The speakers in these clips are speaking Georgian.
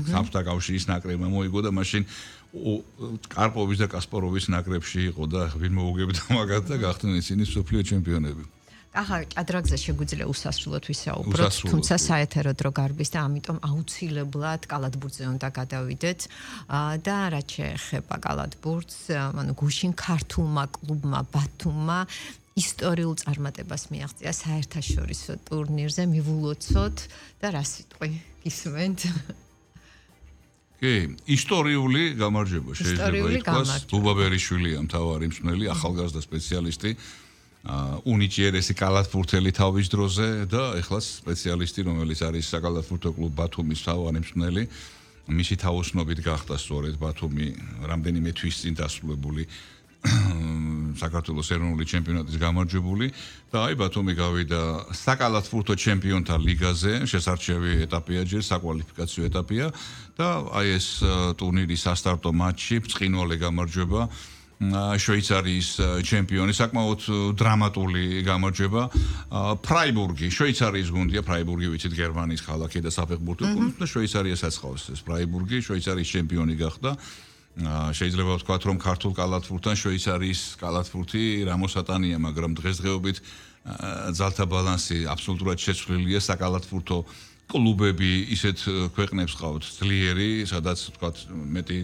საბჭოთა კავშირის ნაკრებმა მოიგო და მაშინ კარპოვის და კასპაროვის ნაკრებში იყო და ვინ მოუგებდა მაგათ და გახდნენ ისინი მსოფლიო ჩემპიონები. ახლა ჭადრაგზე შეგვიძლია უსასრულოდ ვისაუბროთ, თუმცა საეთერო დრო გარბის და ამიტომ აუცილებლად კალათბურთზე უნდა გადავიდეთ და რაც შეეხება კალათბურთს, ანუ გუშინ ქართულმა კლუბმა ბათუმმა ისტორიულ წარმატებას მიაღწია საერთაშორისო ტურნირზე, მივულოცოთ და რა სიტყვი გისმენთ? კი, ისტორიული გამარჯვება შეიძლება ითქვას. ბუბა ბერიშვილია მთავარი მსმენელი, ახალგაზრდა სპეციალისტი. უნიჭიერესი კალათბურთელი თავის დროზე და ეხლა სპეციალისტი, რომელიც არის საკალათბურთო კლუბ ბათუმის მთავარი მსმენელი, მისი თაოსნობით გახდა სწორედ ბათუმი რამდენიმე თვის წინ დასრულებული საქართველოს ეროვნული ჩემპიონატის გამარჯვებული და აი ბათუმი გავიდა საკალათბურთო ჩემპიონთა ლიგაზე, შესარჩევი ეტაპია ჯერ, საკვალიფიკაციო ეტაპია და აი ეს ტურნირის სასტარტო მატჩი, ბრწყინვალე გამარჯვება შვეიცარიის ჩემპიონი, საკმაოდ დრამატული გამარჯვება. ფრაიბურგი, შვეიცარიის გუნდია, ფრაიბურგი ვიცით გერმანიის ქალაქი და საფეხბურთო გუნდი და შვეიცარიასაც ხავს ეს ფრაიბურგი, შვეიცარიის ჩემპიონი გახდა. შეიძლება ვთქვათ, რომ ქართულ კალათბურთთან შვეიცარიის კალათბურთი რამოსატანია, მაგრამ დღესდღეობით ძალთა ბალანსი აბსოლუტურად შეცვლილია, საკალათბურთო კლუბები ისეთ ქვეყნებს ყავთ ძლიერი, სადაც ვთქვათ მეტი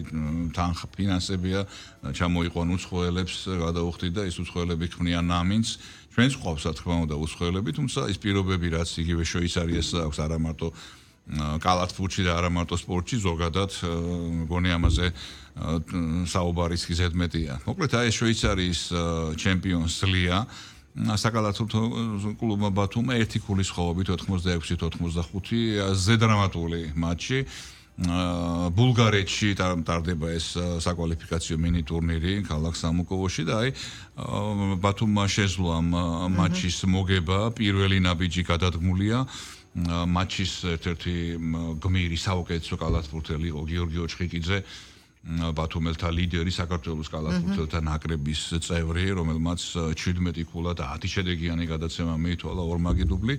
თანხა ფინანსებია, ჩამოიყვან უცხოელებს, გადაუხდით და ეს უცხოელები ქმნიან ამინს. ჩვენც ყავს რა თქმა უნდა უცხოელები, თუმცა ის პირობები რაც იგივე შვეიცარიას აქვს არა მარტო კალათბურთში და არა მარტო სპორტში, ზოგადად მგონი ამაზე საუბარის ზედმეტია. მოკლედ აი შვეიცარიის ჩემპიონს ზლია საკალათბურთო კლუბმა ბათუმმა ერთი ქულის ხოვობით 86-85 ზედრამატული მატჩი. ბულგარეთში ტარდება ეს საკვალიფიკაციო მინი ტურნირი ქალაქ სამუკოვოში და აი ბათუმმა შეძლო ამ მატჩის მოგება, პირველი ნაბიჯი გადადგმულია. მატჩის ერთ-ერთი გმირი საუკეთესო კალათბურთელი იყო გიორგი ოჩხიკიძე, ბათუმელთა ლიდერი, საქართველოს კალათბურთელთა ნაკრების წევრი, რომელმაც 17 ქულა და 10 შედეგიანი გადაცემა მიითვალა ორმაგი დუბლი.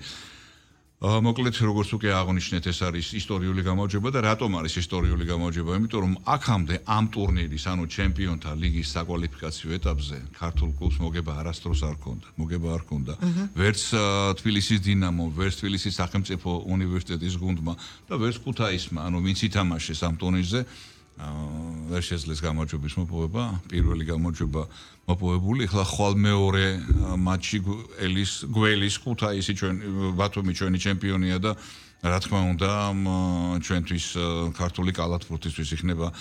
მოკლედ როგორც უკვე აღნიშნეთ, ეს არის ისტორიული გამარჯვება და რატომ არის ისტორიული გამარჯვება? იმიტომ რომ აქამდე ამ ტურნირის, ანუ ჩემპიონთა ლიგის საკვალიფიკაციო ეტაპზე ქართულ კლუბს მოგება არასდროს არ ჰქონდა. მოგება არ ჰქონდა. ვერც თბილისის დინამო, ვერც თბილისის სახელმწიფო უნივერსიტეტის გუნდმა და ვერც ქუთაისმა, ანუ ვინც ითამაშეს ამ ტურნირზე, ვერ შეძლეს გამარჯვების მოპოვება, პირველი გამარჯვება მოპოვებული, ახლა ხვალ მეორე მატჩი გველის ქუთაისი ბათუმი ჩვენი ჩემპიონია და რა თქმა უნდა ჩვენთვის ქართული კალათბურთისთვის იქნება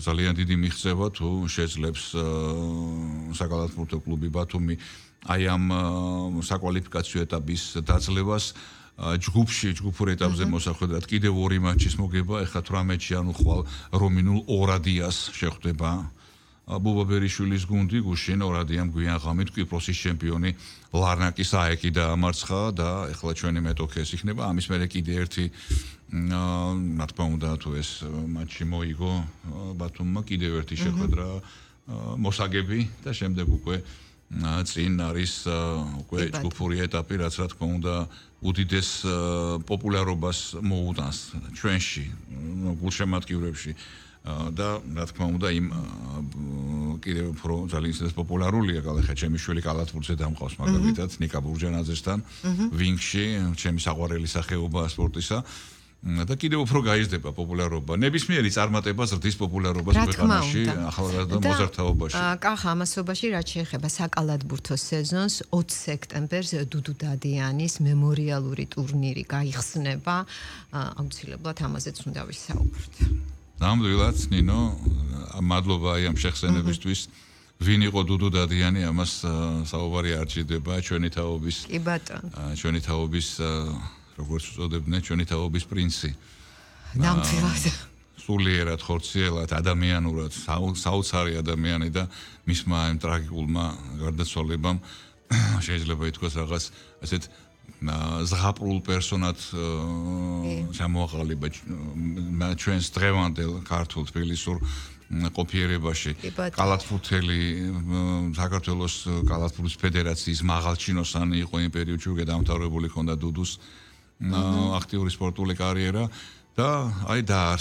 ძალიან დიდი მიღწევა თუ შეძლებს საკალათბურთო კლუბი ბათუმი აი ამ საკვალიფიკაციო ეტაპის დაძლევას ჯგუფურ ეტაპზე მოსახვედრად კიდევ ორი მატჩის მოგება, ეხლა 18-ში ანუ ხვალ რომინულ ორადიას შეხვდება ბუბა ბერიშვილის გუნდი, გუშინ ორადიამ გვიან ღამით კვიპროსის ჩემპიონი ლარნაკის აეკი დაამარცხა და ეხლა ჩვენი მეტოქე ეს იქნება. ამის მერე კიდე ერთი რა თქმა უნდა თუ ეს მატჩი მოიგო ბათუმმა, კიდევ ერთი შეხვედრა მოსაგები და შემდეგ უკვე წინ არის უკვე ჯგუფური ეტაპი, რაც რა თქმა უნდა უდიდეს პოპულარობას მოუტანს ჩვენში, გულშემატკივრებში და რა თქმა უნდა იმ კიდევ უფრო ძალიან ისეთ პოპულარულია კალახა ჩემი შვილი კალათბურთზე დამყავს მაგალითად ნიკა ბურჯანაძესთან ვინგში, ჩემი საყვარელი სახეობა სპორტისა და კიდევ უფრო გაიზრდება პოპულარობა. ნებისმიერი წარმატება ზრდის პოპულარობას ქვეყანაში, ახალგაზრდა მოზარდთაობაში. კახა ამასობაში რაც შეეხება საკალათბურთო სეზონს 20 სექტემბერს დუდუ დადიანის მემორიალური ტურნირი გაიხსნება. აუცილებლად ამაზეც უნდა ვისაუბროთ. ნამდვილად, ნინო, მადლობა აი ამ შეხსენებისთვის. ვინ იყო დუდუ დადიანი, ამას საუბარი არ ჭირდება, ჩვენი თაობის. კი ბატონო. ჩვენი თაობის როგორც უწოდებდნენ, ჩვენი თაობის პრინცი. ნამდვილად. სულიერად, ხორციელად, ადამიანურად, საოცარი ადამიანი და მისმა ამ ტრაგიკულმა გარდაცვალებამ შეიძლება ითქვას რაღაც ასეთ ზღაპრულ პერსონად ჩამოაყალიბა ჩვენს დღევანდელ ქართულ თბილისურ ყოფიერებაში. კალათბურთელი საქართველოს კალათბურთის ფედერაციის მაღალჩინოსანი იყო იმ პერიოდში, უკვე დამთავრებული ჰქონდა დუდუს აქტიური სპორტული კარიერა და აი დაარსდა